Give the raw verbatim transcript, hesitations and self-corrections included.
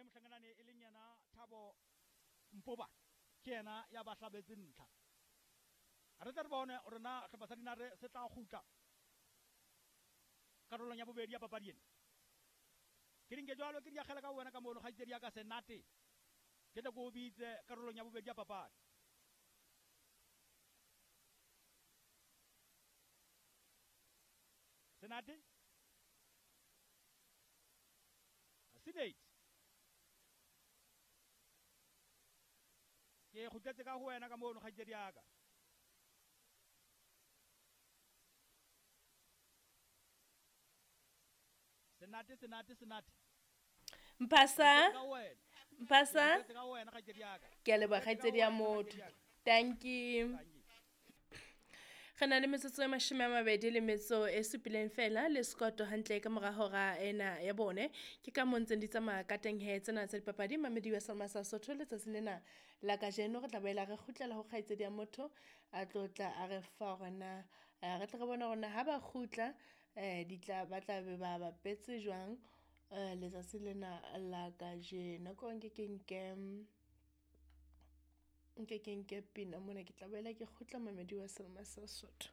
Mme mohlanganane e leng yena Thabo Mpoba ke yena ya ba hlabetse ntlha. Re tla re bone hore na sehlopha sa Dinare se tla kgutla karolong ya bobedi ya papadi ena. Ke dinke jwalo ke di akgela ka wena ka mono kgaitsedi ya ka Senate. Ke tle ke o bitse karolong ya bobedi ya papadi. Senate? Senate. Ke kgutletse ka ho wena ka mono kgaitsedi ya ka. Senate, Senate, Senate. Mpasa, Mpasa. Ke ka wena kgaitsedi ya ka. Ke a leboha kgaitsedi ya motho. Thank you. Re na le metsotso e mashome a mabedi le metso e supileng fela le sekoto hantle ka mora hora ena ya bone. Ke ka mo ntseng di tsamaya ka teng he tsena tsa dipapadi mamedi wa Selma sa Sotho letsatsing lena la kajeno re tla boela re kgutlela ho kgaitsedi ya motho a tlo tla a re fa hore na re tle re bone hore na ha ba kgutla eh di tla ba tla be ba bapetse jwang eh letsatsi lena la kajeno. Ko nke ke nke nke ke nke pina mona ke tla boela ke kgutla mamedi wa Selma sa Sotho.